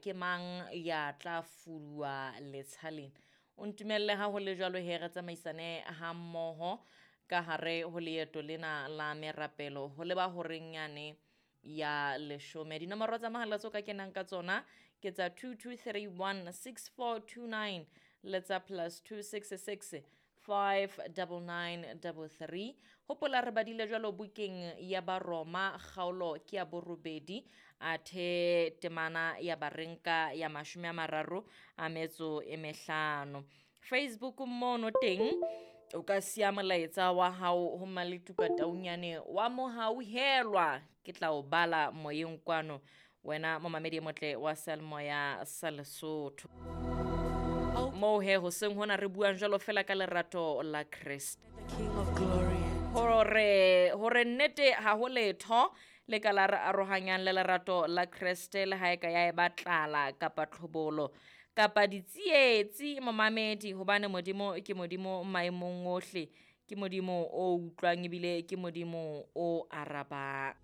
ke mang ya tla fuduwa letsha lena. O ntumelle ha ho le jwalo he re tsamaisane ha mmoho ka hare ho leeto lena la merapelo ho leba horeng yane ya leshome. Dinomoro tsa mohala tseo ka kenang ka tsona ke tsa 2231 6429 le tsa plus 266 59933. Hopola re badile jwalo bukeng ya Baroma kgaolo ke ya borobedi athe temana ya barenka ya 35. Facebook mono teng o ka siya molaetsa wa hao ho Maletuka Taunyane wa mohauhelwa, ke tla o bala moyeng kwano wena momamedi e motle wa Seyalemoya sa Lesotho. Moo he hoseng hona re buang jwalo fela ka lerato la Kreste. Hore nnete ha ho letho le ka la re arohanyang le lerato la Kreste, le ha e ka ya eba tlala kapa tlhobolo kapa ditsietsi momamedi, hobane Modimo ke Modimo maemong ohle, ke Modimo o utlwang ebile ke Modimo o arabang.